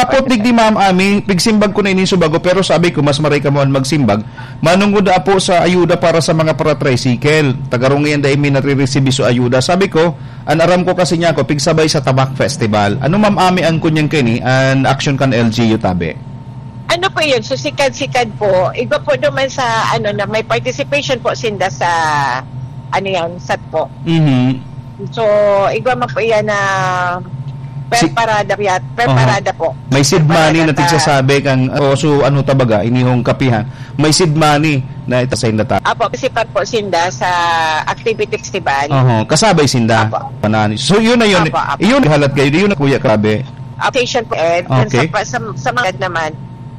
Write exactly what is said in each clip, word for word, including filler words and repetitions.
Apot digdi, Ma'am Ami, pigsimbag ko na ini subago, pero sabi ko, mas maray ka man magsimbag. Manungod na po sa ayuda para sa mga para-tricycle. Tagarong ngayon dahil may nare-receive so ayuda. Sabi ko, an aram ko kasi niya ako, pigsabay sa Tabak Festival. Ano, Ma'am Ami, ang kunyang kini, an action kan L G U tabi? Ano po yun? So, sikad-sikad po. Iba po naman sa, ano, na may participation po sinda sa, ano yan, sat po. Mhm. So, igwa man po yan na per Si- parada yat-, per Aha. parada po. May seed Per money parada na ta. tigsasabi kang, oh, so ano tabaga, inihong kapihan. May seed money na itasayin na ta. Apo, kasi pa po sinda sa activity festival. Oho, kasabay sinda. Apo. Panani. So, yun na yun. Apo, apo. Yun, halat kayo. Yun na, Kuya Kabe. Application po, eh. Dun Okay. sa pa-, sa, sa mga naman.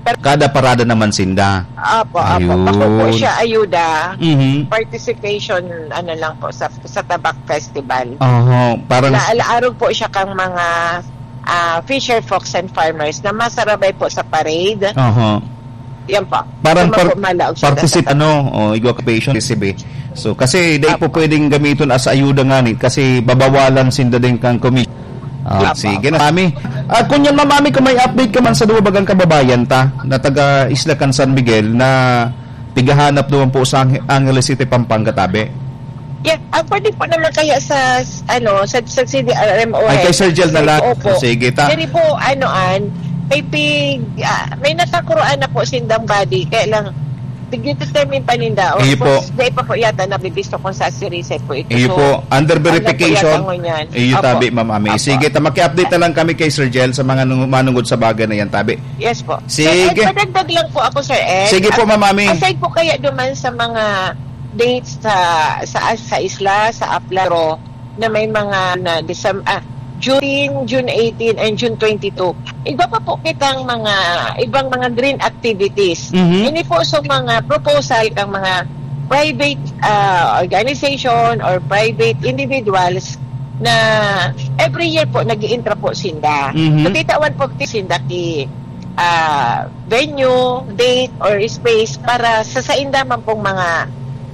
Pero Kada parada naman sinda. Apo, apo. Ayun. Bako po siya ayuda. Mhm. Participation, ano lang po, sa, sa Tabak Festival. Oho, parang Laalaarog po siya kang mga, ah, fisher folks and farmers na masarabay po sa parade. Oho. Yan po. Parang Yan par-, po, malaog siya particip-, sa ano, o, igwa ka patient, C B. So, kasi dahil po Apo. pwedeng gamiton as ayuda nga ni, kasi babawalan sinda din kang commission. Ah, Apo, sige apo. na, Mami. Ah, kung yan, Ma'am Ami, kung may update ka man sa duwa bagang kababayan ta, na taga Isla kan San Miguel, na tigahanap naman po sa Ang-, Angeles City, Pampanga, tabi. Yeah, ah, pwede po naman kaya sa, s-, ano, sa, sa C D R M O Ay, kay Sir Gel na lang. Opo. Sige, ta. Diri po, ano, an, may pig-, ah, may natakuroan na po sindang body. Kaya lang, tigdetermine pa ninda. Or Iyo po. kung dahil pa po yata nabibisto kung sa Sirisay po ito. Iyo So, po. Under ano po verification. yata ngunyan? Iyo, Opo. tabi, Ma'am Ami. Opo. Sige, ta, maki-update na lang kami kay Sir Gel sa mga nung-, manungod sa bagay na yan, tabi. Yes po. Sige. Sir Ed, padagdag lang po ako, Sir Ed. Sige po, Ma'am Ami. Aside po kaya duman sa mga dates sa, sa, sa isla, sa Apla, na may mga na Decem-, ah, June, June eighteen and June twenty-two. Iba pa po kitang mga, ibang mga green activities. Mhm. Ini po sa mga proposal kang mga private, ah, organization or private individuals na every year po nag-iintra po sinda. Mhm. So, titawan po sinda ki, ah, venue, date, or space para sa sainda man pong mga,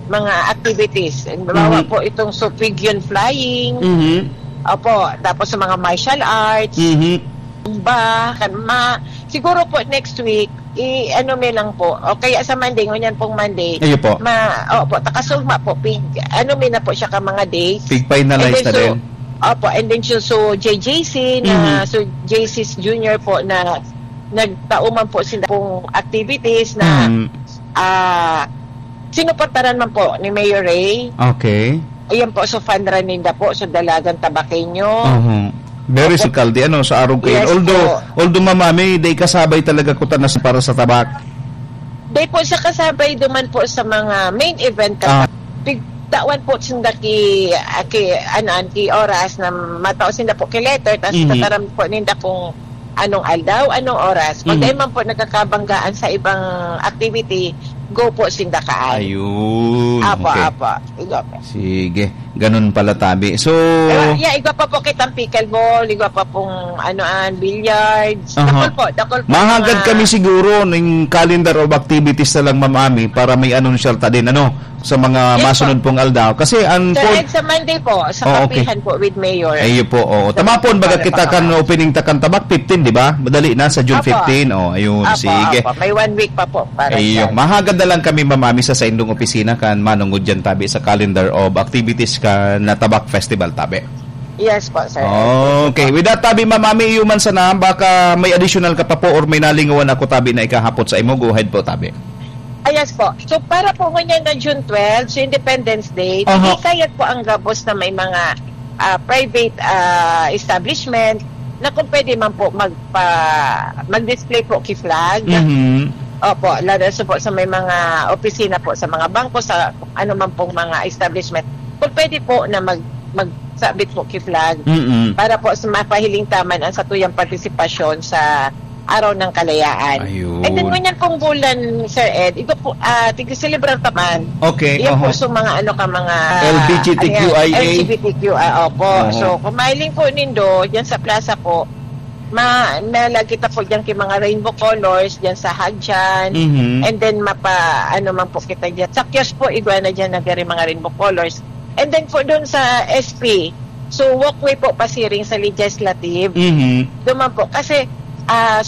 mga activities. Halimbawa Mhm. po itong Supigion Flying. Mhm. Opo, tapos sa mga martial arts, Mhm. zumba, kan-, ma-, siguro po next week, i-ano mi lang po, o kaya sa Monday, ngunyan pong Monday, Ayo po. ma-, opo, takasugma po, pig-, ano mi na po siya ka mga dates. Pig-finalize And then na so, din. Opo, and then so, so J J C na, Mhm. so J C's Junior po na nagtao man po sila pong activities na, Mhm. ah, sinuportaran man po ni Mayor Ray. Okay. Ayan po, so fund run ninda po, so Dalagan Tabaqueño. Mhm. Very Opo. Sikaldi, ano, sa arog kayo. Yes Although, po. although, Ma'am Ami, day kasabay talaga ko tanas para sa tabak. Day po sa kasabay duman po sa mga main event ka Ah. Pigtawan po sinda ki, ah, ki, ano, an, ki oras na matao sinda po ki letter, tas Mhm. tataram po ninda kung anong aldaw, anong oras. Kung Mhm. dahil man po nagkakabanggaan sa ibang activity, go po sinda kaan. Ayun, Apo, okay. apo. Igo po. Sige, ganun pala, tabi. So, Pero, yeah, igwa pa po kitang pickleball, igwa pa pong, ano, an, billiards. Aha. Dakul po, dakul po Mahagad mga kami siguro ning calendar of activities na lang, Ma'am Ami, para may anunsyo ta din, ano, sa mga Yes po. masunod pong aldaw. Kasi ang Sir pon- Ed, sa Monday po, sa Oh, okay. kapihan po with Mayor. Ayun po, oo. Sa Tama po, baga Pampanga, kita kan Pampanga. opening ta kan Tabak fifteen, di ba? Madali na, sa June Apo. fifteen. Oh, ayun, Apo, sige. apo. May one week pa po para Ayun. dyan. Mahagad na lang kami, Ma'am Ami, sa saindong opisina kan manungod dyan, tabi, sa calendar of activities kan Tabak Festival, tabi. Yes po, sir. Okay. With that, tabi, Ma'am Ami, iyo man sana, baka may additional ka pa po or may nalingawan ako, tabi, na ikahapot sa imo, go ahead po, tabi. Ah, yes po. So, para po ngunyan na June twelve, so Independence Day, Aha. hindi kayat po ang gabos na may mga, ah, private, ah, establishment na kung pwede man po magpa-, mag-display po ki flag. Mhm. Opo, lalo sa po sa may mga opisina po, sa mga bangko, sa ano man pong mga establishment. Kung pwede po na mag-, magsabit po ki flag Mm-mm. para po sa mapahiling ta man ang satuyang partisipasyon sa Araw ng Kalayaan. Ayun. And then, ngunyan pong bulan, Sir Ed, iba po, ah, tig-celebrar ta man. Okay, Iyan po oho. sa mga, ano ka, mga, L G B T Q I A. ano yan, L G B T Q I A, opo. Oho. So, kung mahiling po nindo, dyan sa plaza po, ma-, malagkit ta po dyan kay mga rainbow colors, dyan sa Hadjan. Mhm. And then, mapa-, ano man po kita dyan. Sa kiosk po, igwa na dyan, nagari mga rainbow colors. And then po, doon sa S P, so, walkway po pasiring sa Legislative. Mhm. Doon man po. Kasi, ah,